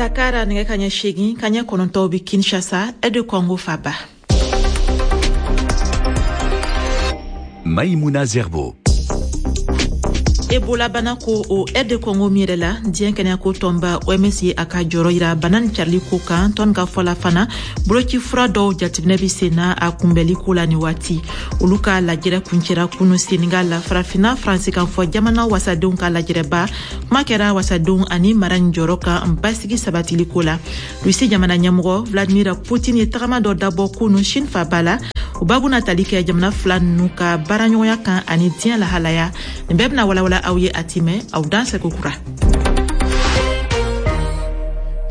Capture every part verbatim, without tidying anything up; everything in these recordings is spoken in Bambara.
Dakar nɛgɛ kaɲɛ seegin kaɲɛ kɔnɔntɔn bi Kinshasa, R D Congo faba. Maïmouna Zerbo. Ebola bana ko o R D Congo min yɛrɛ la, diɲɛ kɛnɛyako tɔnba O M S ye a ka jɔrɔ yira bana nin carili ko kan. Tɔn ka fɔ la fana, boloci fura dɔw jateminɛ bi sen na a kunbɛli ko la. Ni waati olu ka lajɛrɛ kuncɛra kunu Senegal la, Farafina Faransikanfɔ jamana wasadenw ka lajɛrɛba, kuma kɛra wasadenw ani mara nin jɔyɔrɔ kan basigi sabatili ko la. Rusi jamana ɲɛmɔgɔ Vladimir Putin ye tagama dɔ dabɔ kunu Chine faba la. O babu na tali kɛ jamana fila nunu ka baaraɲɔgɔnya kan ani diɲɛ lahalaya. Nin bɛɛ bena walawala aw ye a timɛ. Aw dan sɛko kura.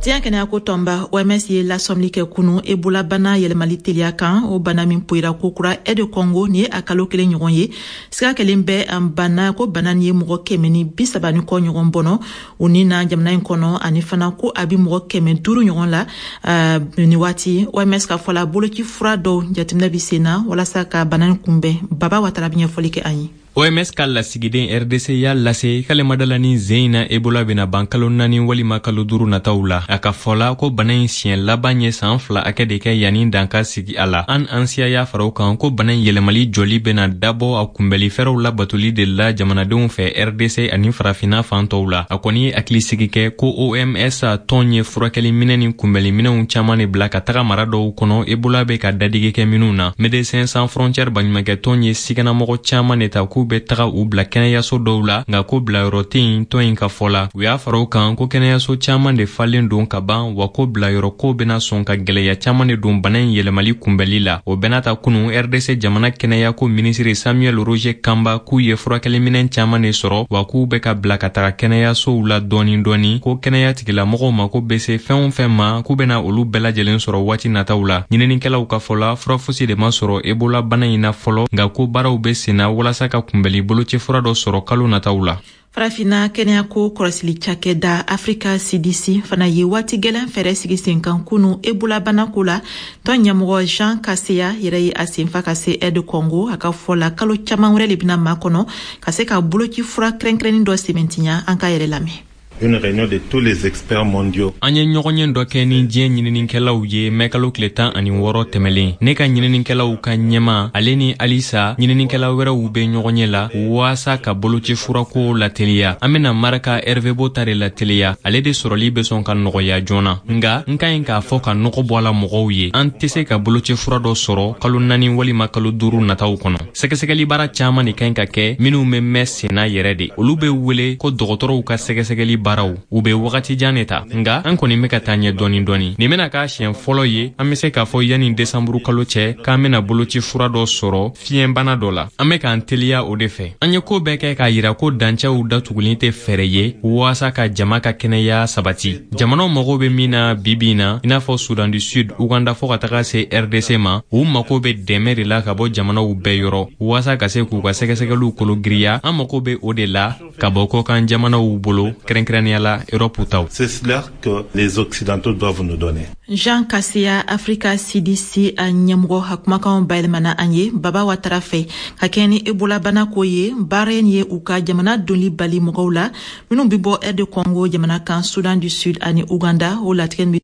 Diɲɛ kɛnɛyako tɔnba O M S ye lasɔmili kɛ kunu Ebola bana yɛlɛmali teliya kan. O bana min poyira kokura R D Congo, nin ye a kalo kelen ɲɔgɔn ye. Siga kelen bɛ bana ko bana nin ye mɔgɔ kɛmɛ ni bi saba ni kɔ ɲɔgɔn bɔnɔ o ni na jamana in kɔnɔ, ani fana ko a bi mɔgɔ kɛmɛ duuru ɲɔgɔn la uh, ni waati. O M S ka fɔ la, boloci fura dɔw jateminɛ bi sen na walasa ka bana nin kunbɛn. Baba Watara bi ɲɛfɔli kɛ an ye. O M S ka lasigiden R D C y'a lase k'ale ma dala ni zen in na Ebola bena ban kalo naani walima kalo duru nataw la. A ka fɔ la ko bana in siɲɛ laban ye saan fila hakɛ de kɛ yanni dan ka sigi a la. An ansiya y'a fara o kan ko bana in yɛlɛmali jɔli bena dabɔ a kunbɛli fɛɛrɛw labatoli de la jamanadenw fɛ R D C ani Farafina fan tɔw la. A kɔni ye hakilisigi kɛ ko O M S tɔn ye furakɛli minɛ ni kunbɛli minɛw caaman de bila ka taga mara dɔw kɔnɔ Ebola be ka dadigi kɛ minw na. Médecins Sans Frontières baɲumankɛtɔn ye siganamɔgɔ caaman de ta k'u bɛ taga u bila kɛnɛyaso dɔw la, nka ko bilayɔrɔ tɛ yen tɔn in ka fɔ la. U y'a fara o kan ko kɛnɛyaso caaman de falen don ka ban, wa ko bilayɔrɔ ko bena sɔn ka gwɛlɛya caaman de don bana in yɛlɛmali kunbɛli la. O bɛɛ n'a ta, kunu R D C jamana kɛnɛyako minisiri Samuel Roger Kamba k'u ye furakɛliminɛn caaman de sɔrɔ, wa k'u bɛ ka bila ka taga kɛnɛyasow la dɔɔni dɔɔni, ko kɛnɛya tigilamɔgɔw mako bɛ se fɛn o fɛn ma, k'u bena olu bɛɛ lajɛlen sɔrɔ waati nataw la. Ɲininikɛlaw ka fɔ la, fura fosi de ma sɔrɔ Ebola bana in na fɔlɔ, nka ko baaraw bɛ senna walasa ka kunbɛli boloci fura dɔ sɔrɔ kalo nataw la. Farafina kɛnɛyako kɔlɔsili cakɛda Afrika C D C fana ye waati gwɛlɛn fɛɛrɛ sigi sen kan kunu Ebola banako la. Tɔn ɲɛmɔgɔ Jean Kaseya yɛrɛ ye a senfa ka se R D Congo. A ka fɔ la, kalo caaman wɛrɛ le bena makɔnɔ ka se ka boloci fura kɛrɛnkɛrɛnnin dɔ sɛmɛntiya. An ka yɛrɛ lamɛn. Une réunion de tous les experts mondiaux. An ye ɲɔgɔn ye dɔ kɛ ni diɲɛ ɲininikɛlaw ye mɛkalo tile tan ani wɔɔrɔ tɛmɛlen. Ne ka ɲininikɛlaw ka ɲɛma, ale ni alisa ɲininikɛla wɛrɛw be ɲɔgɔn ye la waasa ka boloci furako lateliya. An bena maraka Ervebo ta de lateliya, ale de sɔrɔli be sɔn ka nɔgɔya joona. Nga n ka ɲi k'a fɔ ka nɔgɔ bɔ a la mɔgɔw ye, an tɛ se ka boloci fura dɔ sɔrɔ kalo naani walima kalo duuru nataw kɔnɔ. Sɛgɛsɛgɛli baara caaman de ka ɲi ka kɛ minw be mɛn senna yɛrɛ de. Olu be wele ko dɔgɔtɔrɔw ka sɛgɛsɛgɛli baaraw, u be wagati jan de ta, nga an kɔni be ka taa ɲɛ dɔɔni dɔɔni. Nin bena k'a siɲɛ fɔlɔ ye an be se k'a fɔ yanni desanburu kalo cɛ k'an bena boloci fura dɔ sɔrɔ fiɲɛbana dɔ la. An be k'an teliya o de fɛ. An ye koo bɛɛ kɛ k'a yira ko dancɛw datuguli tɛ fɛɛrɛ ye waasa ka jama ka kɛnɛya sabati. Jamanaw mago be min na bibi na, i n'a fɔ Sudan du Sud, Uganda, fɔɔ ka taga se R D C ma, u mago be dɛmɛ de la ka bɔ jamanaw bɛɛ yɔrɔ waasa ka se k'u ka sɛgɛsɛgɛliw kolo giriya. An mago be o de la ka bɔ kɔkan jamanaw bolo, kɛrɛnkɛrɛnnenya la Europe taw. C'est cela que les Occidentaux doivent nous donner. Jean Kaseya, Afrika C D C a ɲɛmɔgɔ, a kumakanw bayɛlɛmana an ye Baba Watara fɛ. Ka kɛɲɛ ni Ebola bana ko ye, baara in ye u ka jamana doli bali mɔgɔw la minw be bɔ R D Congo jamana kan, Sudan du Sud ani Uganda. O latigɛ bi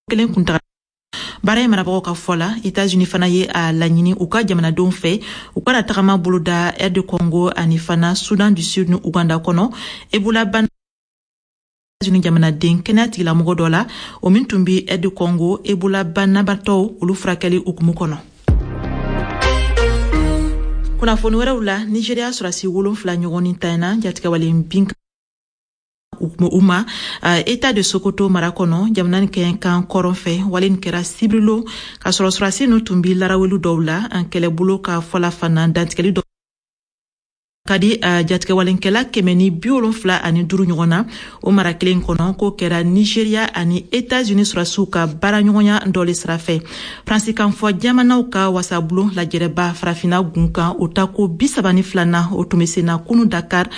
kelen kuntaga baara ye. Marabagaw ka fɔ la, Etats-Unis fana ye a laɲini u ka jamanadenw fɛ u kana tagama boloda R D Congo ani fana Sudan du Sud ni Uganda kɔnɔ. Ebola bana Etats-Unis jamanaden kɛnɛya tigilamɔgɔ dɔ la, o min tun bi R D Congo Ebola banabatɔw olu furakɛli hukumu kɔnɔ. Kunnafoni wɛrɛw la, Nigeria sɔrɔdasi wolonfila ɲɔgɔn ni tanyana jatigɛwalen bin u ma État de Sokoto mara kɔnɔ, jamana nin kan kɔrɔn fɛ. Wale nin kɛra sibirilon k'a sɔrɔ sɔrɔdasi ninnu tun bi laraweli dɔw la an kɛlɛbolo ka fɔla fana. Dantigɛli dɔ ka di jatigɛwalenkɛla kɛmɛ ni bi wolonfila ani duuru ɲɔgɔn na o mara kelen kɔnɔ. K'o kɛra Nigeria ani Etats-Unis sɔrɔdasiw ka baaraɲɔgɔnya dɔ le sira fɛ. Faransikanfɔ jamanaw ka wasabulon lajɛrɛba Farafinna gun kan, o tako bi saba ni filanan, o tun bɛ sen na kunu Dakar.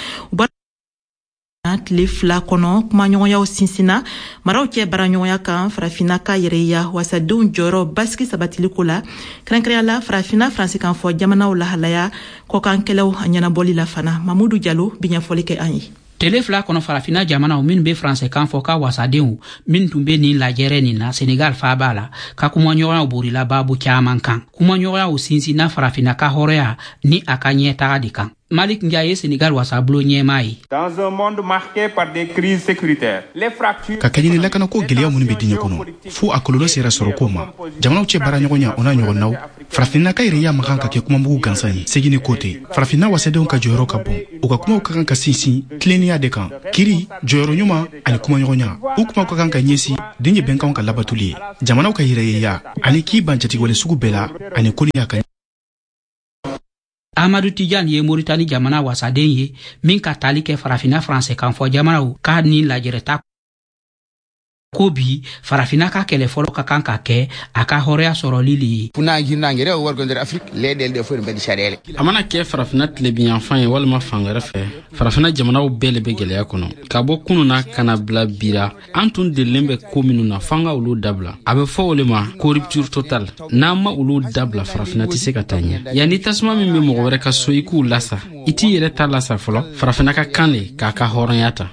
Tile fila kɔnɔ, kumaɲɔgɔnyaw sinsinna maraw cɛ baaraɲɔgɔnya kan Farafinna ka yɛrɛya wasadenw jɔyɔrɔ basigi sabatili ko la, kɛrɛnkɛrɛnya la Farafinna Faransikanfɔ jamanaw lahalaya kɔkan kɛlɛw ɲɛnabɔli la fana. Mamudu Jalo bi ɲɛfɔli kɛ an ye. Tele fila kɔnɔ, Farafina jamanaw minnu be faransɛkan fɔ ka wasadenw min tun be nin lajɛrɛ nin na Senegal faaba la, ka kumaɲɔgɔnyaw borila baabu caaman kan. Kumaɲɔgɔnyaw sinsinna Farafina ka hɔrɔya ni a ka ɲɛtaga de kan. Malik Ndiaye ye Senegal wasabulon ɲɛmaa ye. Dans un monde marqué par des crises sécuritaires, les fractures Ka kɛɲɛ ni lakanako gwɛlɛya minnu bɛ diɲɛ kɔnɔ, fo a kɔlɔlɔ sera sɔrɔko ma, jamanaw cɛ baaraɲɔgɔnya, o n'a ɲɔgɔnnaw, Farafinna ka yɛrɛya ma kan ka kɛ kumamugu gansan ye. Segin ni ko tɛ. Farafinna wasadenw ka jɔyɔrɔ ka bon. U ka kumaw ka kan ka sinsin tilennenya de kan, kiri, jɔyɔrɔ ɲuman ani kumaɲɔgɔnya. U kumaw ka kan ka ɲɛsin diɲɛ bɛnkanw ka labatoli ye, jamanaw ka yɛrɛyeya ani k'i ban jatigɛwale sugu bɛɛ la ani koniya ka. Amadu Tijan ye Moritani jamana wasaden ye min ka tali kɛ Farafina faransɛkan fɔ jamanaw ka nin lajɛrɛta ko bi, Farafina ka kɛlɛ fɔlɔ ka kan ka kɛ a ka hɔrɔnya sɔrɔli le ye. A mana kɛ Farafina tilebinyanfan ye walima fan wɛrɛ fɛ, Farafina jamanaw bɛɛ le bɛ gwɛlɛya kɔnɔ. Ka bɔ kunu na ka na bila bira, an tun delilen bɛ ko minnu na, f'an ka olu dabila. A bɛ fɔ o le ma ko rupture totale. N'an ma olu dabila, Farafina tɛ se ka taa ɲɛ. Yanni tasuma min bɛ mɔgɔ wɛrɛ ka so, i k'u lasa, i t'i yɛrɛ ta lasa fɔlɔ. Farafina ka kan le k'a ka hɔrɔnya ta.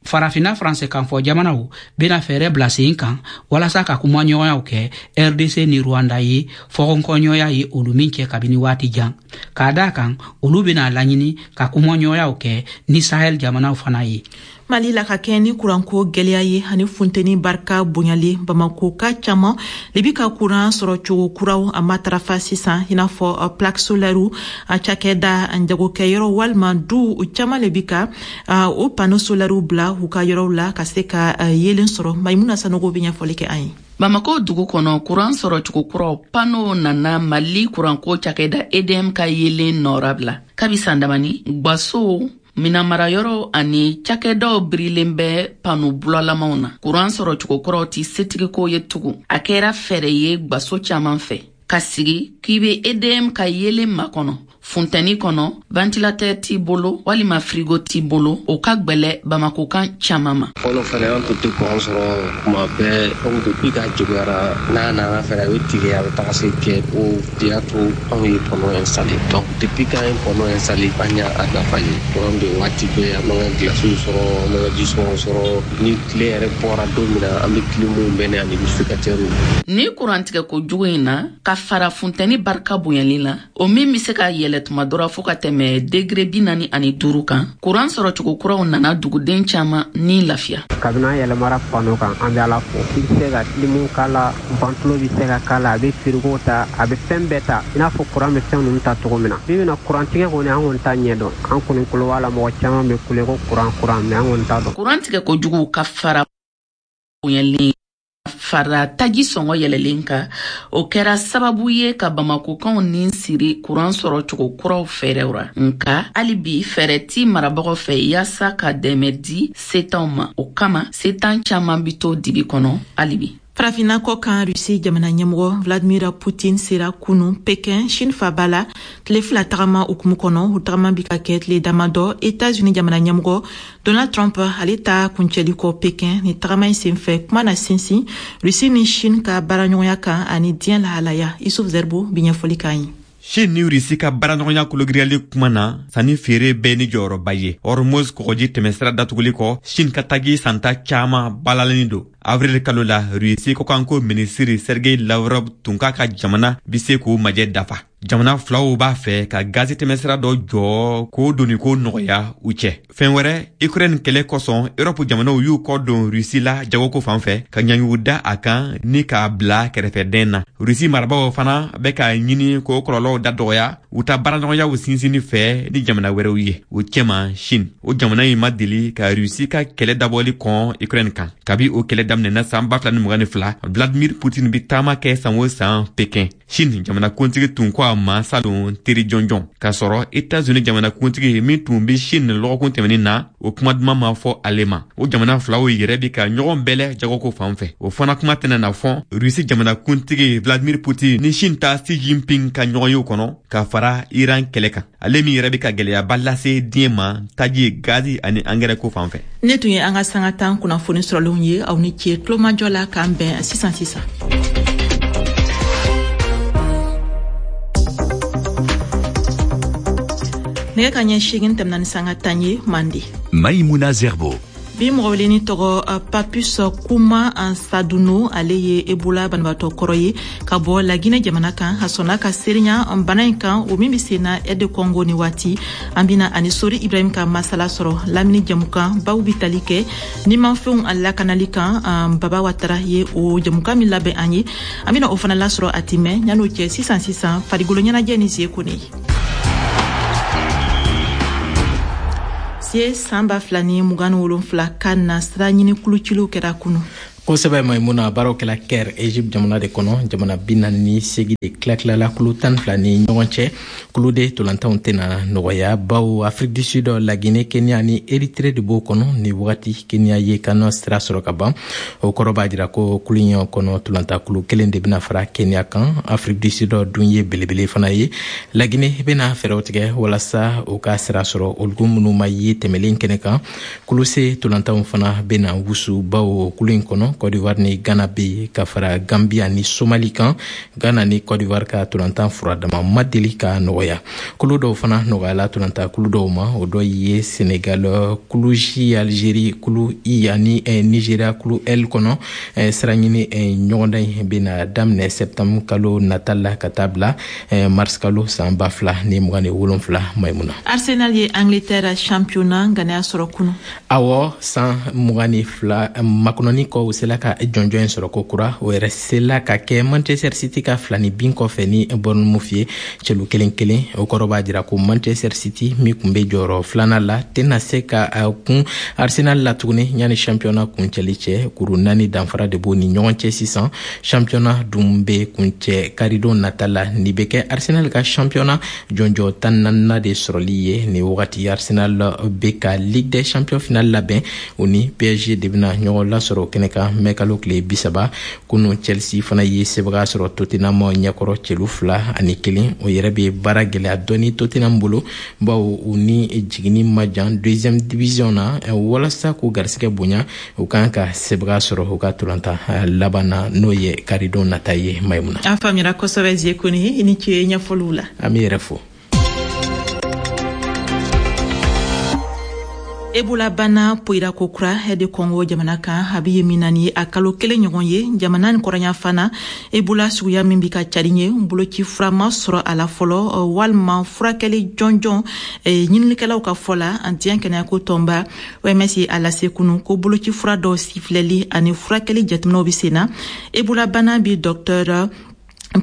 Farafina faransɛkan fɔ jamanaw bena fɛɛrɛ bila sen kan walasa ka kumaɲɔgɔnyaw kɛ R D C ni Rwanda ye, fɔkɔnkɔɲɔya ye olu min kɛ kabini waati jan. K'a da kan, olu bena laɲini ka kumaɲɔgɔnyaw kɛ ni Sahel jamanaw fana ye. Mali la, ka kɛ ni kuranko gwɛlɛya ye ani funteni barika bonyalen, Bamako ka caaman le bi ka kuran sɔrɔ cogo kuraw a matarafa sisan, i n'a fɔ plaque solaire. A cakɛda, jagokɛyɔrɔ walima du caaman le bi ka o panneau solaire bila u ka yɔrɔw la ka se ka yelen sɔrɔ. Maimuna Sanogo be ɲɛfɔli kɛ an ye. Bamako dugu kɔnɔ, kuran sɔrɔ cogo kuraw, panneau nana Mali kuranko cakɛda E D M ka yelen nɔrabila. Kabi san damani, gwaso, minamarayɔrɔ ani cakɛdaw birilen bɛ panneau bulalamaw na. Kuran sɔrɔ cogo kuraw tɛ setigiko ye tugun, a kɛra fɛɛrɛ ye gwaso caaman fɛ. Ka sigi k'i be E D M ka yelen makɔnɔ funtɛni kɔnɔ, ventilateur t'i bolo walima frigo t'i bolo, o ka gwɛlɛ Bamakokan caaman ma. Fɔlɔ fɛnɛ, an tun tɛ kuran sɔrɔ kuma bɛɛ. Donc depuis k'a juguyara, n'a nana fɛnɛ, a bɛ tigɛ, a bɛ taga se kɛ. O de y'a to anw ye panneau installé. Donc depuis k'an ye panneau installé, an y'a a nafa ye. Kuran bɛ waati bɛɛ, an b'an ka glaciw sɔrɔ, an b'an ka jisɔngɔ sɔrɔ. Ni tile yɛrɛ bɔra don min na, an bɛ climw bɛnɛ ani humidificateur. Ni kurantigɛ kojugu in na ka fara funtɛni barika bonyali la, o min be se ka yɛlɛ tuma dɔ ra fɔɔ ka tɛmɛ degré bi naani ani duuru kan, kuran sɔrɔ cogo kuraw nana duguden caaman ni lafiya. Kabini an yɛlɛmara panneau kan, an bɛ Ala fo. I bɛ se ka clim k'a la, ventilo bɛ se ka k'a la, a bɛ frigo ta, a bɛ fɛn bɛɛ ta, i n'a fɔ kuran bɛ fɛn ninnu ta cogo min na. Bi bɛna kurantigɛ kɔni, an kɔni t'a ɲɛ dɔn. An kɔni kulo b'a la, mɔgɔ caman bɛ kule ko kuran kuran, mais an kɔni t'a dɔn. Kuran tigɛ kojugu ka fara bonyalen fara taji sɔngɔ yɛlɛlen kan, o kɛra sababu ye ka Bamakokanw ni siri kuran sɔrɔ cogo kuraw fɛɛrɛw ra. Nka hali bi, fɛɛrɛ ti marabagaw fɛ yaasa ka dɛmɛ di setanw ma. O kama, setan caaman bi to dibi kɔnɔ hali bi. Farafinna kɔ kan, Rusi jamana ɲɛmɔgɔ Vladimir Putin sera kunu Pekin, Chine faba la, tile fila tagama hukumu kɔnɔ. U tagama bi ka kɛ tile damadɔ Etats-Unis jamana ɲɛmɔgɔ Donald Trump ale ta kuncɛli kɔ Pekin. Ni tagama in senfɛ, kuma na sinsin Rusi ni Chine ka baaraɲɔgɔnya kan ani diɲɛ lahalaya. Isuf Zerbo bi ɲɛfɔli k'an ye. Chine ni Rusi ka baaraɲɔgɔnya kologiriyali kuma na, sanni feere bɛɛ ni jɔyɔrɔba ye. Hormuz kɔgɔji tɛmɛsira datuguli kɔ, Chine ka taji santa caaman balaleni don. Avril kalo la, Rusi kɔkanko minisiri Sergei Lavrov tun k'a ka jamana be se k'o majɛ dafa. Jamana filaw b'a fɛ ka gazi tɛmɛsira dɔ jɔ k'o donniko nɔgɔya u cɛ. Fɛn wɛrɛ, Ukraine kɛlɛ kosɔn, Erɔpu jamanaw y'u kɔ don Rusi la jagoko fan fɛ, ka ɲangiw da a kan ni k'a bila kɛrɛfɛdɛn na. Rusi marabagaw fana bɛ k'a ɲini k'o kɔlɔlɔw da dɔgɔya u ta baaraɲɔgɔnyaw sinsinni fɛ ni jamana wɛrɛw ye, o cɛma Chine. O jamana in ma deli ka Rusi ka kɛlɛ dabɔli kɔn Ukraine kan. Kabi o kɛlɛ daminɛna san ba fila ni mugan ni fila, Vladimir Putin be taama kɛ san o san Pekin. Chine jamanakuntigi tun ko a ma salon teri jɔnjɔn, k'a sɔrɔ Etats-Unis jamanakuntigi min tun be Chine lɔgɔkun tɛmɛnin na, o kuma duman ma fɔ ale ma. O jamana filaw yɛrɛ bi ka ɲɔgɔn bɛlɛ jagoko fan fɛ, o fana kuma tɛna na fɔ Rusi jamanakuntigi Vladimir Putin ni Chine ta Xi Jinping ka ɲɔgɔnyew kɔnɔ, ka fara Iran kɛlɛ kan, ale min yɛrɛ be ka gwɛlɛyaba lase diɲɛ ma taji, gazi ani angɛrɛ ko fan fɛ. Ne tun ye an ka sanga tan kunnafoni sɔrɔlenw ye. Aw ni ce tulomajɔ la. K'an bɛn sisan sisan. Nɛgɛ ka ɲɛ seegin tɛmɛna ni sanga tan ye Mande. Maïmouna Zerbo. Bi mɔgɔ weleni tɔgɔ Papus Kuma Saduno, ale ye Ebola banabaatɔ kɔrɔ ye ka bɔ Laginɛ jamana kan. A sɔnna ka seereya bana in kan, o min bɛ sen na R D Congo ni waati. An bɛna ani Sori Ibrahim ka masala sɔrɔ lamini jamukan baw bi tali kɛ nimafɛnw a lakanali kan. Baba Watara ye o jamukan min labɛn an ye, an bɛna o fana lasɔrɔ a ti mɛn. Yan'o cɛ, sisan sisan, farikolo ɲɛnajɛ ni Zie Kone ye. Sie, san ba fila ni mugan ni wolonfila ka na sira ɲini kuluciliw kɛra kunu. Kosɛbɛ Maimuna, baaraw kɛla Caire, Egypte jamana de kɔnɔ. Jamana bi naani ni segi de tila-tilala kulu tan fila ni ɲɔgɔn cɛ. Kulu de tolantanw tɛna nɔgɔya, bawo Afrique du Sud, Laginɛ, Kenya ni Eritrée de b'o kɔnɔ. Ni wagati Kenya ye CAN sira sɔrɔ ka ban, o kɔrɔ b'a jira ko kulu in kɔnɔ tolantakulu kelen de bɛna fara Kenya kan. Afrique du Sud dun ye belebele fana ye. Laginɛ bɛna fɛɛrɛw tigɛ walasa u ka sira sɔrɔ, olu minnu ma ye tɛmɛlen kɛnɛ kan. Kulu C tolantanw fana bɛna wusu, bawo kulu in kɔnɔ Côte d'Ivoire ni Ghana bɛ ka fara Gambia ni Somali kan. Ghana ni Côte d'Ivoire ka tolantan furadama ma deli ka nɔgɔya. Kulu dɔw fana nɔgɔyala tolantan kulu dɔw ma, o dɔ ye Sénégal kulu J, Algérie kulu I ani Nigeria kulu L kɔnɔ. Sira ɲini ɲɔgɔndan in bɛna daminɛ septembre kalo nata la ka taa bila mars kalo san ba fila ni mugan ni wolonfila, Maimuna. Arsenal ye Angleterre championnat ŋaniya sɔrɔ kunu. Awɔ, san mugan ni fila makɔnɔni kɔ, u sela ka jɔnjɔn in sɔrɔ ko kura. O yɛrɛ sela ka kɛ Manchester City ka fila ni bin kɔfɛ ni Bournemouth ye cɛlu kelen kelen. O kɔrɔ b'a jira ko Manchester City min kun bɛ jɔyɔrɔ filanan la tɛna se ka kun Arsenal la tuguni yanni championnat kuncɛli cɛ. Kuru naani danfara de b'o ni ɲɔgɔn cɛ sisan. Championnat dun bɛ kuncɛ karidon nata la. Nin bɛ kɛ Arsenal ka championnat jɔnjɔn tan naaninan de sɔrɔli ye. Nin wagati Arsenal bɛ ka Ligue des champions finale labɛn, o ni P S G de bɛna ɲɔgɔn lasɔrɔ kɛnɛ kan mɛ kalo tile bi saba. Kunu Chelsea fana ye sebaga sɔrɔ Tottenham ɲɛkɔrɔ celu fila ani kelen. O yɛrɛ bɛ baara gɛlɛya dɔɔni Tottenham bolo, bawo u ni jiginni ma jan deuxième division na. Walasa k'u garisigɛ bonya, u kan ka sebaga sɔrɔ u ka tolantan laban na, n'o ye karidon nata ye, Maimuna. An faamuyara kosɛbɛ, Zie Kone, i ni ce ɲɛfɔliw la. An b'i yɛrɛ fo. Ebola bana poyira ko kura R D Congo jamana kan. A bɛ ye min na ni a kalo kelen ɲɔgɔn ye, jamana ni kɔrɔnya fana Ebola suguya min bi ka cari ye, boloci fura ma sɔrɔ a la fɔlɔ walima furakɛli jɔnjɔn. Ɲininikɛlaw ka fɔ la, diɲɛ kɛnɛyako tɔnba O M S ye a lase kunu ko boloci fura dɔw sifilɛli ani furakɛli jateminɛw bɛ sen na. Ebola bana bi docteur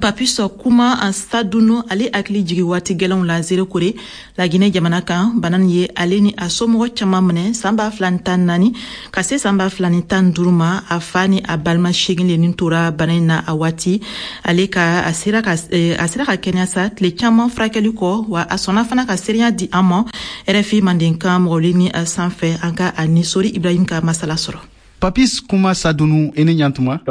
Papus Kuma Saduno ale hakili jigi waati gɛlɛnw la Zerekore, Laginɛ jamana kan. Bana nin ye ale ni a somɔgɔ caman minɛ san ba fila ni tan naani ka se san ba fila ni tan duuru ma. A fa ni a balima seegin le nin tora bana in na a waati. Ale ka a sera ka a sera ka kɛnɛya sa tile caman furakɛli kɔ, wa a sɔnna fana ka seereya di an ma R F I Mandenkan mɔgɔli ni sanfɛ. An ka a ni Sori Ibrahim ka masala sɔrɔ. Papis Kuma Sadunu, i ni ɲantuma.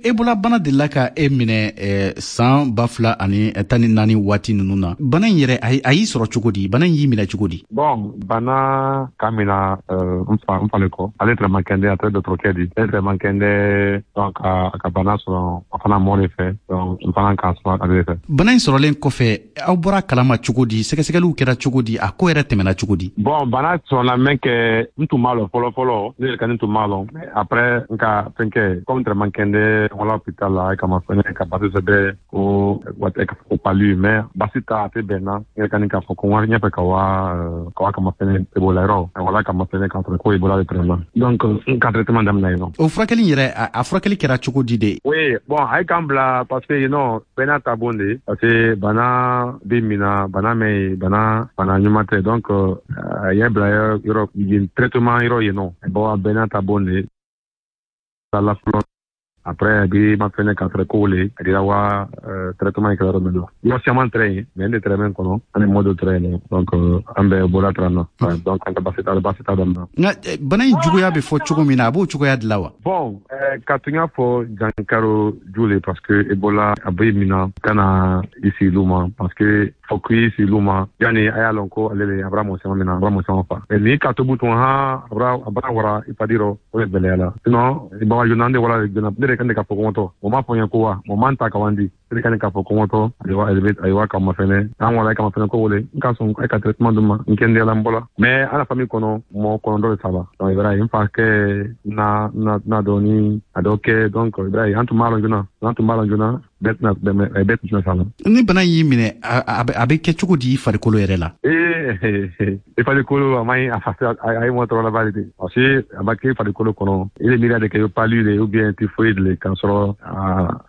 Ebola bana delila ka e minɛ eh, san ba fila ani tan ni naani waati ninnu na. Bana in yɛrɛ, a y'i sɔrɔ cogo di? Bana in y'i minɛ cogo di? Bon, bana ka mina euh, n fa n fale kɔ. Ale tɛrɛ man kɛnɛ, a tɛrɛ dɔgɔtɔrɔkɛ di. Ale tɛrɛ man kɛnɛ, donc a ka bana sɔrɔ, a fana mɔ de fɛ, donc n fana k'a sɔrɔ ale de fɛ. Bana in sɔrɔlen kɔfɛ, aw bɔra kalama cogo di? Sɛgɛsɛgɛliw kɛra cogo di? A ko yɛrɛ tɛmɛna cogo di? Bon, bana sɔrɔla min kɛ, n tun b'a lɔn fɔlɔ fɔlɔ, ne yɛrɛ ka n tun b'a lɔn. Après n ka fɛn kɛ, comme tɛrɛ man kɛnɛ, wala hôpital la kama fɛnɛ ka basi sɛbɛ ko ko palu, mais basi ta a tɛ bɛn na. N yɛrɛ ka nin k'a fɔ ko n ɲɛfɛ ka wa ka wa kama fɛnɛ Ebola yɔrɔ, wala kama fɛnɛ k'a sɔrɔ ko Ebola de tɛrɛ na, donc n ka traitement daminɛ yen nɔ. O furakɛli yɛrɛ, a furakɛli kɛra cogo di de? Oui, bon, a ye k'an bila parce que non, bɛɛ n'a ta bon de, parce que bana bɛ min na, bana mɛn ye, bana bana ɲuman tɛ, donc a ye bila yɔrɔ yen, traitement yɔrɔ yen nɔ. Bon, bɛɛ n'a ta bon de la fɔlɔ. Après, bi ma fɛnɛ k'a sɔrɔ ko le a dira wa traitement kɛra yɔrɔ min la. Yɔrɔ caman tɛrɛ yen, mais n de tɛrɛ min kɔnɔ ani mɔ dɔ tɛrɛ yen, donc an bɛ bɔra tɛrɛ na, donc an ka basi ta basi ta daminɛ. Nka bana in juguya bɛ fɔ cogo min na, a b'o cogoya dilan wa? Bon, ka tun y'a fɔ jankaro ju le, parce que Ebola a bɛ min na ka na i sigi ma, parce que fɔ k'i sigi ma yanni a y'a lɔn ko ale le a bɔra mɔgɔ caman min na, a bɔra mɔgɔ caman fa. Ni ka tobu tun han, a bɔra a bɔra wara i padiro, o de gɛlɛya la. Sinon baga joona, ne wala joona, ne de kan de ka fɔ kɔngɔtɔ o m'a fɔ n ye ko wa o man ta ka wan di ne kan de k'a fɔ kɔngɔtɔ ayiwa ayiwa ka ma fɛnɛ an wala ka ma fɛnɛ ko wele n ka sɔn ka traitement d'u ma n kɛndɛyala n bɔla mais an la famille kɔnɔ mɔgɔ kɔnɔntɔn de saba. Donc i b'a ye n fa kɛ na na na dɔɔni a dɔ kɛ. Donc i b'a ye an tun b'a lɔn joona an tun b'a lɔn joona bɛɛ tɛna bɛɛ tun tɛna s'a la. Ni bana y'i minɛ, a bɛ kɛ cogo di i farikolo yɛrɛ la? Ee, i farikolo a man ɲi, a ye mɔgɔ tɔɔrɔ la bari de, parce que a b'a kɛ farikolo kɔnɔ i bɛ miiri de kɛ palu de ou bien typhoïde le k'a sɔrɔ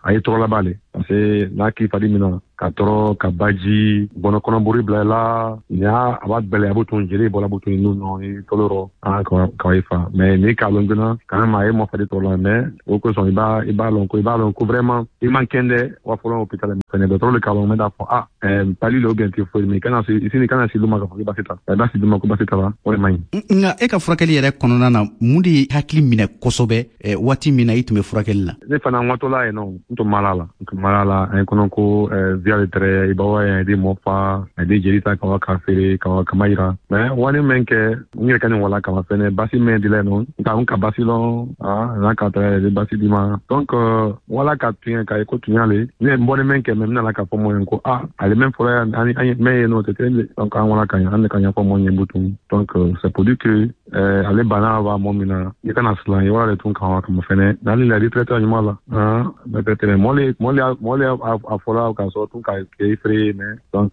a ye tɔɔrɔ laban le, parce que n'a k'i fari minɛ ka tɔɔrɔ ka baji bɔnɔ kɔnɔbori bila i la ɲa a b'a gbɛlɛ a b'o tun jeli bɔla b'o tun nun nɔ i tɔlɔ rɔ a ka i fa. Mais n'i k'a lɔn joona quand même a ye mɔ fari tɔɔrɔ la, mais o kosɔn i b'a i b'a lɔn ko i b'a lɔn ko vraiment i man kɛndɛ wa fɔlɔ hôpital fɛnɛ dɔgɔtɔrɔ le k'a lɔn mɛ d'a fɔ ah palu le ou bien typhoïde, mais i kana se i kana se d'u ma k'a fɔ k'i basi ta i b'a se d'u ma ko basi ta la, o de man ɲi. Nka e ka furakɛli yɛrɛ kɔnɔna na, mun de ye hakili minɛ kosɛbɛ waati min na i tun bɛ furakɛli la? Ne fana n watɔla yen nɔ, n tun mara la n tun mara la an ye kɔnɔ ko via le tɛrɛ i b'a wa di mɔ fa a di jeli ta ka wa k'a feere ka wa kama yira, mais wani min kɛ n yɛrɛ ka nin wala kama fɛnɛ basi min dila yen nɔ n ka n ka basi lɔn ah n'a ka tɛrɛ di basi di ma. Donc wala ka tuɲɛ k'a ye ko tuɲa le ne n bɔlen min kɛ mɛ n nana k'a fɔ mɔ ye ko ah ale min fɔlɔ yan ani an ye mɛ yen nɔ tɛ kelen. Donc an wala ka ɲɛ an de ka ɲɛfɔ mɔ ye butun. Donc c'est pour dire que ale bana b'a mɔ min na i kana silan i wala de tun kan wa kama fɛnɛ n'ale la retraite ɲuman la ah peut-être mɔ le mɔ le mɔ le a fɔla k'a sɔrɔ tun ka kɛ effrayé, mais donc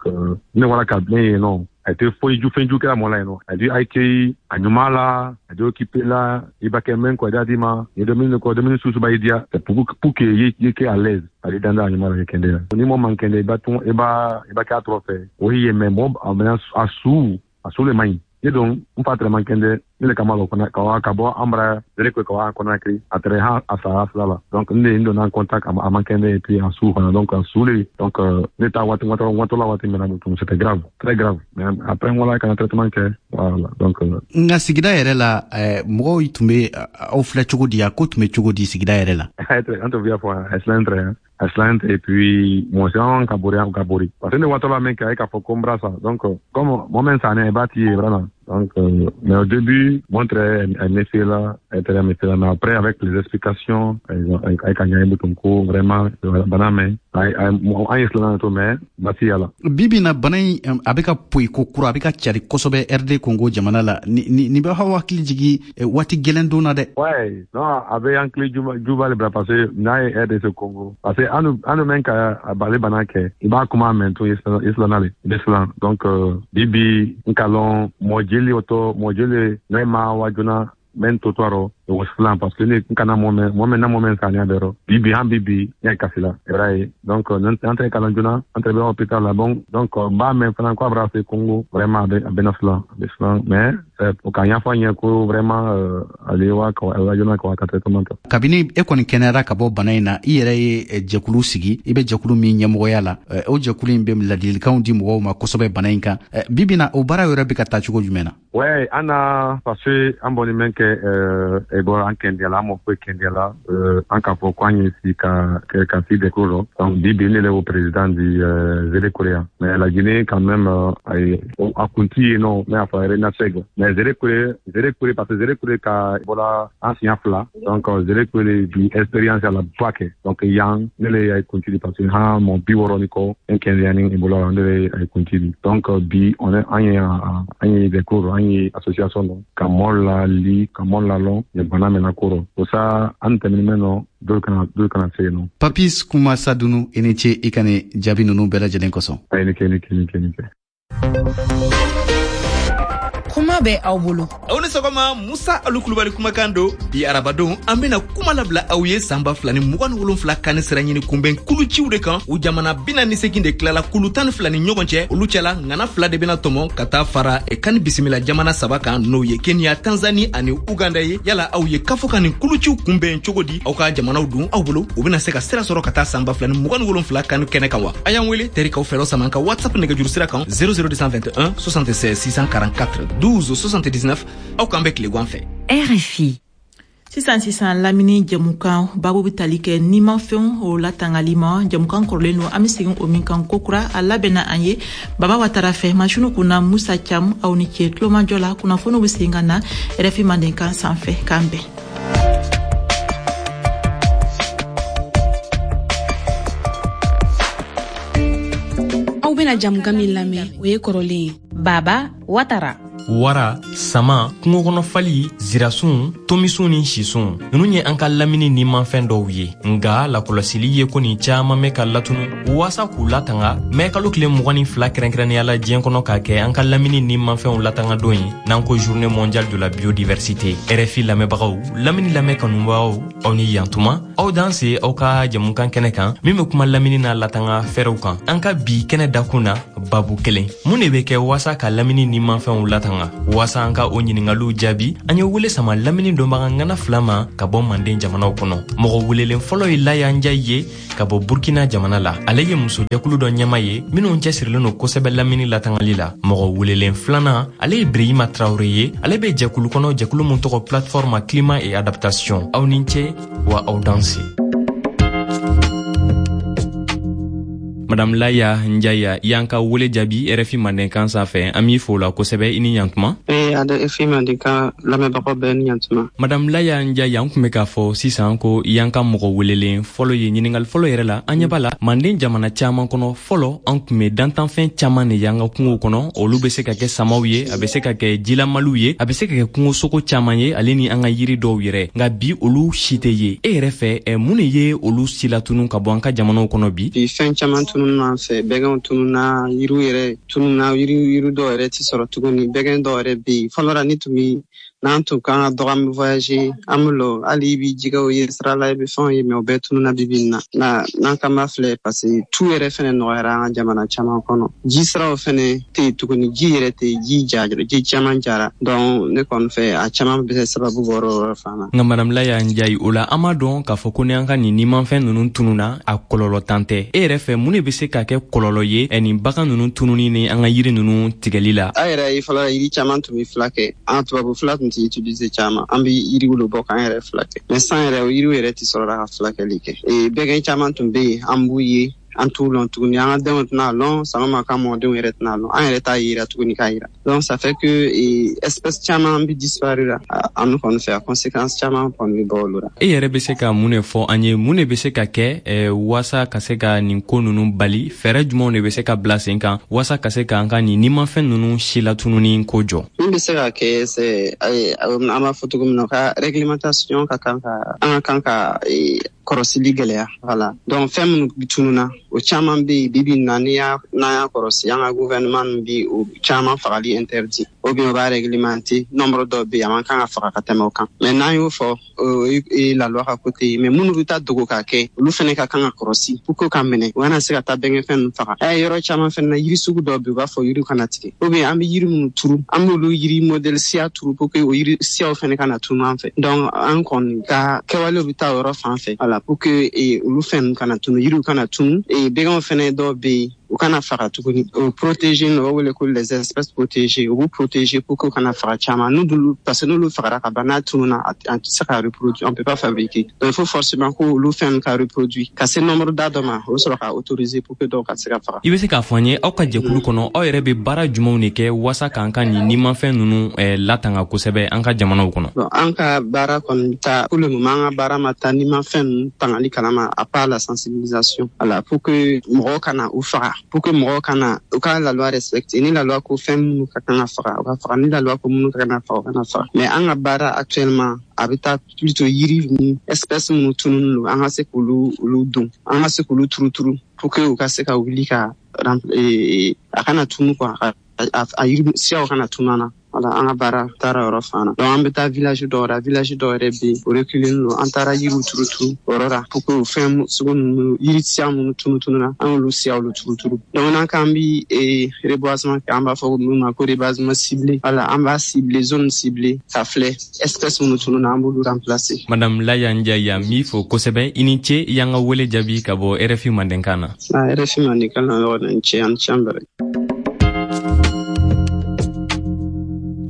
ne wala ka ne yen nɔ a tɛ foyi ju fɛn ju kɛra mɔ la yen nɔ a di accueil a ɲuman la a di occupé la i b'a kɛ mɛn kɔ i d'a di ma i dumuni kɔ dumuni susu b'a diya, c'est pour pour que i ye kɛ à l'aise a di danda a ɲuman la i kɛndɛ ni mɔ man kɛndɛ i b'a tun i b'a i b'a kɛ a tɔrɔ fɛ o ye mais mɔ a bɛna a su a su le man ɲi. Ne don n fa tɛrɛ man kɛndɛ ne le kama lɔ fana ka wa ka bɔ an bara zere ko ka wa Conakry a tɛrɛ han a sara fila la. Donc ne n donna en contact a man kɛndɛ et puis a su fana donc a su le. Donc ne ta waati waati la waati min na c'était grave, très grave, mais après n wala ka na traitement kɛ voilà. Donc nka sigida yɛrɛ la mɔgɔw tun bɛ aw filɛ cogo di, a ko tun bɛ cogo di sigida yɛrɛ la? An tun b'a fɔ a silan tɛrɛ a silan et puis mɔgɔ caman ka bori ka bori parce que ne waati la min kɛ a ye k'a fɔ ko n bara sa. Donc comme mɔgɔ min sanni i b'a t'i ye vraiment. Donc, euh, mais au début, moi, très méfié là, très méfié là, mais après, avec les explications, avec un Tonko, vraiment, baname, Bibi na bana in a bɛ ka poyi ko kura, a bɛ ka cari kosɛbɛ R D Congo jamana la. Ni ni bɛ aw hakili jigin waati gɛlɛn don na dɛ. Ouais, non, a bɛ hakili juba le bila parce que n'a ye R D C Congo, parce que an an mɛn ka ale bana kɛ, i b'a kuma mɛn to i silanna le, i bɛ silan. Donc bibi n ka lɔn mɔgɔ jeli o tɔ mɔgɔ jeli n'a ma wa joona mɛn to tɔɔrɔ o silan parce que ne kana mɔ mɛn mɔ mɛn na mɔ mɛn saniya bɛɛ rɔ bibi han bibi n y'a kasi la i b'a ye. Donc an tɛ kalan joona, an tɛ bɛ hôpital la. Bon, donc n b'a mɛn fana ko a bɛna se Congo, vraiment a bɛ a bɛ na silan a bɛ silan, mais o ka ɲɛfɔ an ye ko vraiment ale wa ka wa joona ka wa ka traitement kɛ. Kabini e kɔni kɛnɛyara ka bɔ bana in na, i yɛrɛ ye jɛkulu sigi, i bɛ jɛkulu min ɲɛmɔgɔya la, o jɛkulu in bɛ ladilikanw di mɔgɔw ma kosɛbɛ bana in kan. Bibi na o baara yɛrɛ bɛ ka taa cogo jumɛn na? Ouais, an na parce que an bɔni mɛn kɛ e bɔra an kɛndɛ la, an mɔ foyi kɛndɛ la, an k'a fɔ ko an ye si ka ka si dɛko rɔ. Donc bibi ne le o président du Zérékoré, mais la Guinée quand même a kunti yen nɔ, mais a fɔ Renaseg, mais Zérékoré Zérékoré parce que Zérékoré ka bɔra an siɲɛ fila. Donc Zérékoré bi expérience a la ba kɛ. Donc yan ne le ye kunti di parce que han mɔ bi wɔɔrɔ ni kɔ n kɛndɛ ni Ebola ne le ye kunti di. Donc bi on est an ye an ye dɛko rɔ, an ye association dɔ ka mɔ la li ka mɔ la lɔn ye bana mɛn na ko rɔ o sa an tɛmɛni mɛn nɔ dɔw kana dɔw kana se yen nɔ. Papis Kuma Sadunu, i ni ce i ka nin jaabi ninnu bɛɛ lajɛlen kosɔn. A ye ni kɛ ni kɛ ni kɛ ni kɛ. Kuma bɛ aw bolo. Aw ni sɔgɔma, Musa Alu Kulubali kumakan don. Bi arabadon an bɛna kuma labila aw ye san ba fila ni mugan ni wolonfila kani sira ɲini kunbɛn kuluciw de kan. U jamana bi naani ni seegin de tilala kulu tan ni fila ni ɲɔgɔn cɛ. Olu cɛla ŋana fila de bɛna tɔmɔ ka taa fara kani bisimila jamana saba kan, n'o ye Kenya, Tanzanie ani Uganda ye. Yala aw ye kafo ka nin kuluciw kunbɛn cogo di? Aw ka jamanaw dun aw bolo, u bɛna se ka sira sɔrɔ ka taa san ba fila ni mugan ni wolonfila kani kɛnɛ kan wa? A y'an wele terikaw fɛlɔ sama ka WhatsApp nɛgɛjuru sira kan zéro zéro deux cent vingt et un soixante-seize six cent quarante-quatre douze soixante-dix-neuf. Aw k'an bɛ tilegan fɛ. R F I. Sisan sisan lamini jɛmukan babu bɛ tali kɛ nimafɛnw o latangali ma. Jɛmukan kɔrɔlen don, an bɛ segin o min kan kokura, a labɛnna an ye Baba Watara fɛ, masini kunna Musa Cam. Aw ni ce tulomajɔ la. Kunnafoniw bɛ segin ka na R F I Mandenkan sanfɛ. K'an bɛn. bena jamukan min lamɛn, o ye kɔrɔlen ye. Baba Watara. Wara, sama, kungokɔnɔfali, zirasun, tomisun ni sisun, nunu ye an ka lamini nimafɛn dɔw ye. Nga lakɔlɔsili ye ko nin caaman bɛ ka latunu. Waasa k'u latanga, mɛ kalo tile mugan ni fila kɛrɛnkɛrɛnnenya la diɲɛ kɔnɔ k'a kɛ an ka lamini nimafɛnw latanga don ye, n'an ko Journée mondiale de la biodiversité. R F I lamɛnbagaw, lamini lamɛn kanubagaw, aw ni yantuma, aw dan se aw ka jamukan kɛnɛ kan min bɛ kuma lamini n'a latanga fɛɛrɛw kan. An ka bi kɛnɛ dakun na, babu kelen, mun de bɛ kɛ waasa ka lamini nimafɛnw latanga? Waasa an ka o ɲiningaliw jaabi, an ye wele sama lamini dɔnbaga ŋana fila ma ka bɔ manden jamanaw kɔnɔ. Mɔgɔ welelen fɔlɔ ye Laya Njayi ye ka bɔ Burkina jamana la. Ale ye musojɛkulu dɔ ɲɛma ye minnu cɛsirilen don kosɛbɛ lamini latangali la. Mɔgɔ welelen filanan, ale ye Birehima Traoré ye. Ale bɛ jɛkulu kɔnɔ, jɛkulu mun tɔgɔ Plateforme Climat et Adaptation. Aw ni ce wa aw danse. Madame Laya Njaya, i y'an ka wele jaabi R F I Mandenkan sanfɛ, an b'i fo la kosɛbɛ, i ni ɲantuma. Ee, R F I Mandenkan lamɛnbagaw bɛɛ ni ɲantuma. Madame Laya Njaya, an tun bɛ k'a fɔ sisan ko i y'an ka mɔgɔ welelen fɔlɔ ye. Ɲininkali fɔlɔ yɛrɛ la, an ɲɛ b'a la manden jamana caman kɔnɔ, fɔlɔ an tun bɛ dantanfɛn caman de y'an ka kungow kɔnɔ. Olu bɛ se ka kɛ samaw ye, a bɛ se ka kɛ jilamaliw ye, a bɛ se ka kɛ kungosogo caman ye, ale ni an ka yiri dɔw yɛrɛ. Nka bi olu si tɛ ye. E yɛrɛ fɛ, mun de ye olu si latunu ka bɔ an ka jamanaw kɔnɔ bi? Bi fɛn caman tununa an fɛ, bɛgɛnw tununa, yiriw yɛrɛ tununa, yiri yiri dɔw yɛrɛ ti sɔrɔ tuguni, bɛgɛn dɔw yɛrɛ bɛ yen. Fɔlɔ la ni tun bi n'an tun kan ka dɔgɔ, an bɛ voyager, an bɛ lɔ, hali i b'i jɛgɛw ye sira la, i bɛ fɛnw ye, mɛ o bɛɛ tununa bi bi in na. Na n'an kan b'a filɛ, parce que tu yɛrɛ fɛnɛ nɔgɔyara an ka jamana caman kɔnɔ. Ji siraw fɛnɛ tɛ yen tuguni, ji yɛrɛ tɛ yen, ji jara, ji caman jara. Donc ne kɔni fɛ, a caman bɛ se sababu bɔra o yɔrɔ fana. Nka Madame Laya Njayi, o la an b'a dɔn k'a fɔ ko ni an ka nin nimafɛn ninnu tununa, a kɔlɔlɔ tan tɛ. E yɛrɛ fɛ, mun de bɛ se ka kɛ kɔlɔlɔ ye nin bagan ninnu tununi ni an ka yiri ninnu tigɛli la? An yɛrɛ ye fɔlɔ yiri caman tun bɛ fila kɛ, an tubabu fila tun tɛ utiliser caman, an bɛ yiriw de bɔ k'an yɛrɛ fila kɛ. Mais san yɛrɛ, o yiriw yɛrɛ tɛ sɔrɔ ka fulakɛli kɛ. Ee, bɛgɛn caman tun bɛ yen, an b'u ye, an t'u lɔn tuguni, an ka denw tɛna lɔn, sama ka mɔdenw yɛrɛ tɛna lɔn, an yɛrɛ t'a yira tuguni k'a yira. Donc ça fait que espèce caman bɛ disparaître la an kɔni fɛ, a conséquence caman kɔni bɛ bɔ olu la. E yɛrɛ bɛ se ka mun de fɔ an ye, mun de bɛ se ka kɛ waasa ka se ka nin ko ninnu bali? Fɛɛrɛ jumɛnw de bɛ se ka bila sen kan waasa ka se k'an ka nin nimafɛn ninnu si latununi ko jɔ? Min bɛ se ka kɛ, c'est an b'a fɔ cogo min na, ka réglementation ka kan ka an ka kan ka kɔrɔsili gɛlɛya. Voilà, donc fɛn minnu tununa, o caman bɛ yen bi bi in na, n'i y'a n'an y'a kɔrɔsi, an ka gouvernement bi o caman fagali interdit, ou bien o b'a réglementer, nombre dɔw bɛ yen a man kan ka faga ka tɛmɛ o kan. Mais n'an y'o fɔ, o ye la loi ka côté ye. Mais minnu bɛ taa dogo k'a kɛ, olu fɛnɛ ka kan ka kɔrɔsi pour que ka minɛ, u kana se ka taa bɛnkɛfɛn ninnu faga. Ɛ, yɔrɔ caman fɛnɛ na, yiri sugu dɔw bɛ yen, u b'a fɔ yiriw kana tigɛ, ou bien an bɛ yiri minnu turu, an b'olu yiri modèle siya turu pour que o yiri siyaw fɛnɛ kana tunu an fɛ. Donc an kɔni ka kɛwalew bɛ taa o yɔrɔ fan fɛ, voilà, pour que olu fɛn ninnu kana tunu, yiriw kana tunu. Bɛgɛnw fɛnɛ dɔw bɛ yen, u kana faga tuguni, o protéger, o b'a wele ko les espèces protégées, u b'u protéger pour que u kana faga caman. N'olu, parce que n'olu fagara ka ban, n'a tununa, an tɛ se ka reproduire, on peut pas fabriquer. Donc il faut forcément ko olu fɛn ka reproduire ka se nombre da dɔ ma, o bɛ sɔrɔ ka autoriser pour que dɔw ka se ka faga. I bɛ se k'a fɔ an ye, aw ka jɛkulu kɔnɔ, aw yɛrɛ bɛ baara jumɛnw de kɛ waasa k'an ka nin nimafɛn ninnu latanga kosɛbɛ an ka jamanaw kɔnɔ? Bon, an ka baara kɔni ta pour le moment, an ka baara ma taa nimafɛn ninnu tangali kalama, à part la sensibilisation, voilà, pour que mɔgɔw kana u faga, pour que mɔgɔw kana u ka la loi respecter. Ni la loi ko fɛn minnu ka kan ka faga, u ka faga. Ni la loi ko minnu ka kan ka faga, u kana faga. Mais an ka baara actuellement, a bɛ taa plutôt yiri ni espèce minnu tununnen don, an ka se k'olu olu don, an ka se k'olu turu turu pour que u ka se ka wuli ka a kana tunu quoi, a yiri siyaw kana tunu an na. Voilà, an ka baara taara yɔrɔ fan na. Donc an bɛ taa village dɔw la, village dɔw yɛrɛ bɛ yen, o reculer don, an taara yiriw turu turu o yɔrɔ la pour que o fɛn sugu ninnu, yiri siya minnu tunu tununa, an y'olu siyaw turu turu. Donc n'an k'an bi reboisement kɛ, an b'a fɔ min ma ko reboisement ciblé. Voilà, an b'a ciblé, zone ciblée, ka filɛ espèce minnu tununa, an b'olu remplacer. Madame Laya Njaya, n b'i fo kosɛbɛ, i ni ce i y'an ka wele jaabi ka bɔ R F I Mandenkan na. R F I Mandenkan na, yɔrɔ ni ce, an ni ce an bɛrɛ.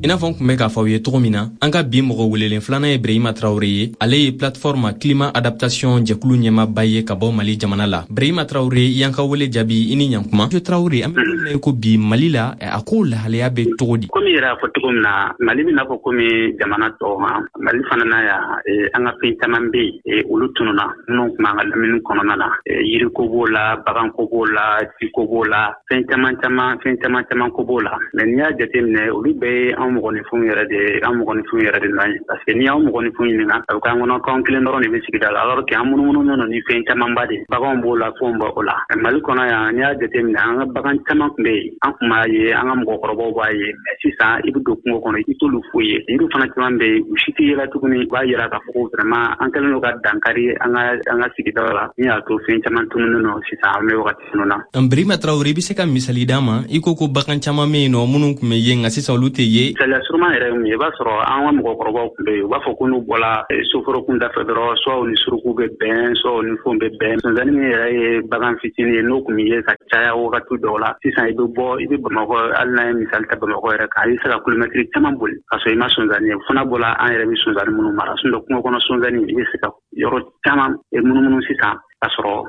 I n'a fɔ n kun bɛ k'a fɔ aw ye cogo min na, an ka bi mɔgɔ welelen filanan ye Brehima Tarawure ye. Ale ye plateforme climat adaptation jɛkulu ɲɛmaaba ye ka bɔ Mali jamana la. Brehima Tarawure, i y'an ka wele jaabi, i ni ɲankuma. Monsieur Tarawure, an bɛ don min na i ko bi, Mali la, a ko lahalaya bɛ cogo di? Komi yɛrɛ y'a fɔ cogo min na, Mali bɛ n'a fɔ komi jamana tɔw ma, Mali fana na yan, an ka fɛn caman bɛ yen, olu tununna minnu tun b'an ka lamini kɔnɔna na. Yiriko b'o la, baganko b'o la, jiko b'o la, fɛn caman caman fɛn caman caman ko b'o la. Mais n'i y'a jateminɛ, olu bɛɛ ye an mɔgɔninfinw yɛrɛ de an mɔgɔninfinw yɛrɛ de nɔ ye, parce que n'i y'anw mɔgɔninfinw ɲininka, a bɛ k'an kɔnɔ k'anw kelen dɔrɔn de bɛ sigida la, alors que an munumunu don ni fɛn camanba de, baganw b'o la, fɛnw b'o la. Mali kɔnɔ yan, n'i y'a jateminɛ, an ka bagan caman tun bɛ yen, an tun b'a ye, an ka mɔgɔkɔrɔbaw b'a ye, mais sisan i bɛ don kungo kɔnɔ, i t'olu foyi ye. Yiriw fana caman bɛ yen, u si tɛ yela tuguni. U b'a yira k'a fɔ ko vraiment an kɛlen don ka dankari an ka an ka sigidaw la, min y'a to fɛn caman tununnen don sisan an bɛ wagati minnu na. Brehima Tarawure, i bɛ se ka misali d'an ma? I ko ko bagan caman bɛ yen nɔ minnu tun bɛ ye, nka sisan olu tɛ ye. Misaliya surunman yɛrɛ ye mun ye, i b'a sɔrɔ an ka mɔgɔkɔrɔbaw tun bɛ yen, u b'a fɔ ko n'u bɔra soforo kunda fɛ dɔrɔn, soit u ni suruku bɛ bɛn, soit u ni fɛnw bɛ bɛn. Sonsannin min yɛrɛ ye bagan fitinin ye, n'o tun bɛ ye ka caya wagati dɔw la, sisan i bɛ bɔ, i bɛ Bamakɔ, hali n'an ye misali ta Bamakɔ yɛrɛ kan, i bɛ se ka kilomɛtiri caman boli ka sɔrɔ i ma sonsannin ye. O fana bɔra an yɛrɛ bɛ sonsannin minnu mara, sinon kungo kɔnɔ sonsannin, i bɛ se ka yɔrɔ caman munumunu sisan ka sɔrɔ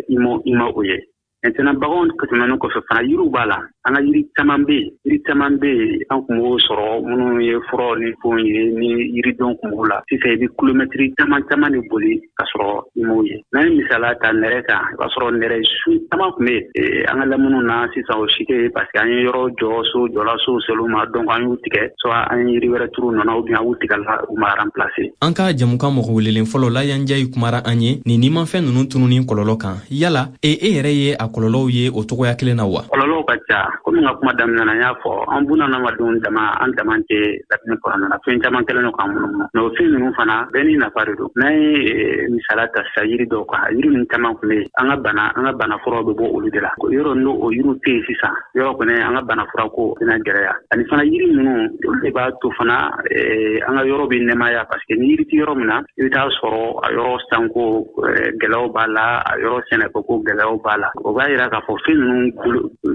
i ma i ma o ye. Maintenant, baganw tɛmɛnen kɔfɛ fana, yiriw b'a la. An ka yiri caman bɛ yen, yiri caman bɛ yen, an tun b'o sɔrɔ minnu ye furaw ni fɛnw ye, ni yiridenw tun b'o la. Sisan i bɛ kilomɛtiri caman caman de boli ka sɔrɔ i m'o ye. N'an ye misaliya ta nɛrɛ kan, i b'a sɔrɔ nɛrɛ su caman tun bɛ yen an ka laminiw na, sisan o si tɛ yen, parce que an ye yɔrɔ jɔ, so jɔla, sow sel'u ma, donc an y'u tigɛ, soit an ye yiri wɛrɛ turu nɔ na, ou bien an y'u tigɛ la, u ma remplacer. An ka jamukan mɔgɔ welelen fɔlɔ la Yanjayi kumara an ye nin nimafɛn ninnu tununi kɔlɔlɔ kan. Yala e e yɛrɛ ye a kɔlɔlɔw ye o cogoya kelen na wa? Kɔlɔlɔw ka ca. Komi n ka kuma daminɛ na, n y'a fɔ, an bunadamadenw dama, an dama tɛ lamini kɔnɔna na, fɛn caman kɛlen don k'an munumunu. Mais o fɛn ninnu fana bɛɛ n'i nafa de don. N'an ye misaliya ta sisan yiri dɔw kan, yiri ninnu caman tun bɛ yen, an ka bana an ka bana furaw bɛ bɔ olu de la. Yɔrɔ n'o o yiriw tɛ yen sisan, yɔrɔ kɔni an ka bana fura ko bɛna gɛlɛya. Ani fana yiri ninnu, olu de b'a to fana an ka yɔrɔ bɛ nɛmaya, parce que ni yiri tɛ yɔrɔ min na, i bɛ taa sɔrɔ a yɔrɔ sanko gɛlɛyaw b'a la, a yɔrɔ sɛnɛko ko gɛlɛyaw b'a la. O b'a yira k'a fɔ fɛn ninnu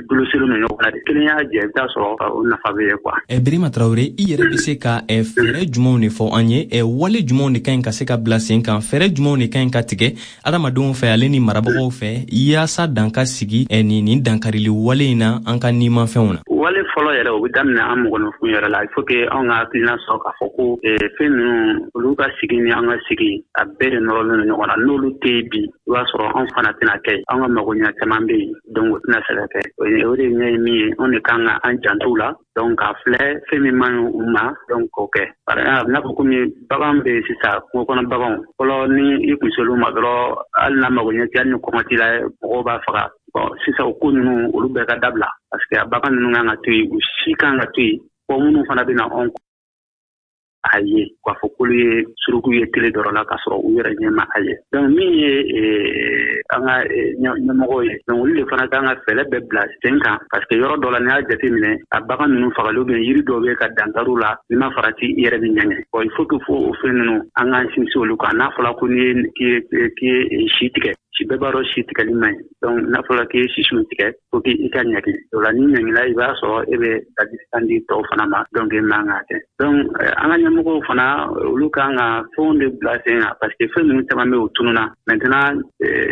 goloselen don ɲɔgɔn na de. Kelen y'a jɛ, i bɛ taa sɔrɔ o nafa bɛ ye quoi. Brehima Tarawure, i yɛrɛ bɛ se ka fɛɛrɛ jumɛnw de fɔ an ye? Wale jumɛnw de ka ɲi ka se ka bila sen kan? Fɛɛrɛ jumɛnw de ka ɲi ka tigɛ adamadenw fɛ ale ni marabagaw fɛ, yaasa dan ka sigi nin nin dankarili wale in na an ka nimafɛnw na? Wale fɔlɔ yɛrɛ, o bɛ daminɛ an mɔgɔninfinw yɛrɛ la. Il faut que anw ka hakilina sɔrɔ k'a fɔ ko fɛn ninnu, olu ka sigi ni an ka sigi, a bɛɛ de nɔrɔlen don ɲɔgɔn na. N'olu tɛ yen bi, i b'a sɔrɔ anw fana tɛna kɛ yen. An ka magoɲɛ caman bɛ yen, donc o tɛna se ka kɛ. O de ɲɛ ye min ye, anw de kan ka an janto u la, donc k'a filɛ fɛn min man ɲi u ma, donc k'o kɛ. Par exemple, n'a fɔ komi bagan bɛ yen sisan, kungo kɔnɔ baganw, fɔlɔ ni i kun sel'u ma dɔrɔn, hali n'a magoɲɛ tɛ, hali ni kɔngɔ t'i la, mɔgɔw b'a faga. Bon, sisan o ko ninnu, olu bɛɛ ka dabila, parce que a bagan ninnu kan ka to yen, u si kan ka to yen. Fɔ minnu fana bɛ na anw a ye k'a fɔ k'olu ye suruku ye tele dɔrɔn la, k'a sɔrɔ u yɛrɛ ɲɛ ma a ye. Donc min ye an ka ɲɛmɔgɔw ye, donc olu de fana kan ka fɛɛrɛ bɛɛ bila sen kan, parce que yɔrɔ dɔ la, n'i y'a jateminɛ, a bagan ninnu fagali ou bien yiri dɔw bɛ ka dankari la, n'i ma farati, i yɛrɛ bɛ ɲɛgɛn. Bon, il faut que fo o fɛn ninnu, an k'an sinsin olu kan. N'a fɔra ko n'i ye k'i ye si tigɛ, si bɛɛ b'a dɔn si tigɛli man ɲi. Donc n'a fɔra k'i ye sisiw tigɛ, fo k'i ka ɲagi. O la n'i ɲangila, i b'a sɔrɔ e bɛ ladilikan di tɔw fana ma, donc e man k'a kɛ. Donc an ka ɲɛmɔgɔw fana, olu kan ka fɛnw de bila sen kan, parce que fɛn ninnu caman bɛ yen, o tununna. Maintenant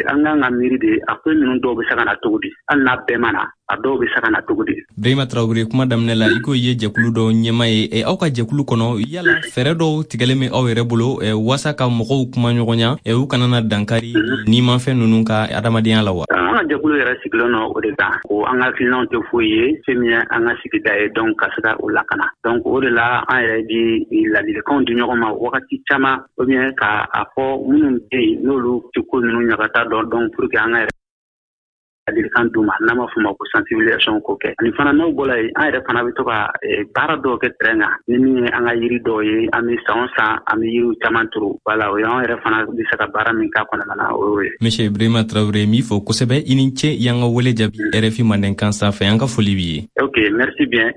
an kan ka miiri de, a fɛn ninnu dɔw bɛ se ka na cogo di, hali n'a bɛɛ ma na, a dɔw bɛ se ka na cogo di. Brehima Tarawure, kuma daminɛ la, i ko i ye jɛkulu dɔw ɲɛma ye. Aw ka jɛkulu kɔnɔ, yala fɛɛrɛ dɔw tigɛlen bɛ aw yɛrɛ bolo waasa ka mɔgɔw kuma ɲɔgɔnya, u kana na dankari nimafɛn ninnu ka adamadenya la wa? An ka jɛkulu yɛrɛ sigilen don o de kan, ko an ka hakilinaw tɛ foyi ye fɛn min ye an ka sigida ye, donc ka se ka o lakana. Donc o de la an yɛrɛ bi ladilikanw di ɲɔgɔn ma wagati caman, ou bien ka a fɔ minnu bɛ yen n'olu tɛ ko ninnu ɲagata dɔn, donc pour que an ka yɛrɛ ladilikan d'u ma, n'an b'a fɔ o ma ko sensibilisation k'o kɛ. Ani fana n'o bɔra yen, an yɛrɛ fana bɛ to ka baara dɔw kɛ terrain kan, ni min ye an ka yiri dɔw ye, an bɛ san o san an bɛ yiriw caman turu. Wala o y'an yɛrɛ fana bɛ se ka baara min k'a kɔnɔna na, o y'o ye. Monsieur Brehima Tarawure, n b'i fo kosɛbɛ, i ni ce i y'an ka wele jaabi R F I Mandenkan sanfɛ. An ka foli b'i ye. Ok, merci bien.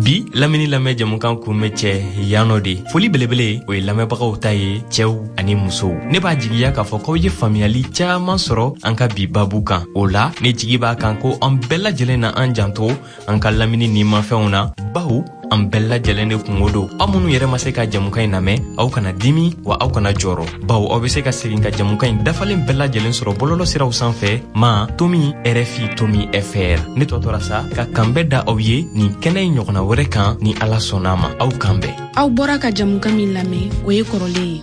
Bi Bi lamini lamɛn jɛmukan kun bɛ cɛ yan nɔ de. Foli belebele o ye lamɛnbagaw ta ye, cɛw ani musow. Ne b'a jigiya k'a fɔ k'aw ye faamuyali caaman sɔrɔ an ka bi babu kan. O la ne jigi b'a kan ko an bɛɛ lajɛlen na an janto an ka lamini nimafɛnw na, bawo an bɛɛ lajɛlen de kungo don. Aw minnu yɛrɛ ma se ka jɛmukan in lamɛn, aw kana dimi wa aw kana jɔrɔ, bawo aw be se ka segin ka jɛmukan in dafalen bɛɛ lajɛlen sɔrɔ bɔlɔlɔ siraw sanfɛ ma tomi R F I tomi F R. Ne tɔ tora sa ka kanbɛ da aw ye nin kɛnɛ in ɲɔgɔnna wɛrɛ kan, ni Ala sɔnna ma. Aw kan bɛn. Aw bɔra ka jamukan min lamɛn, o ye kɔrɔlen ye.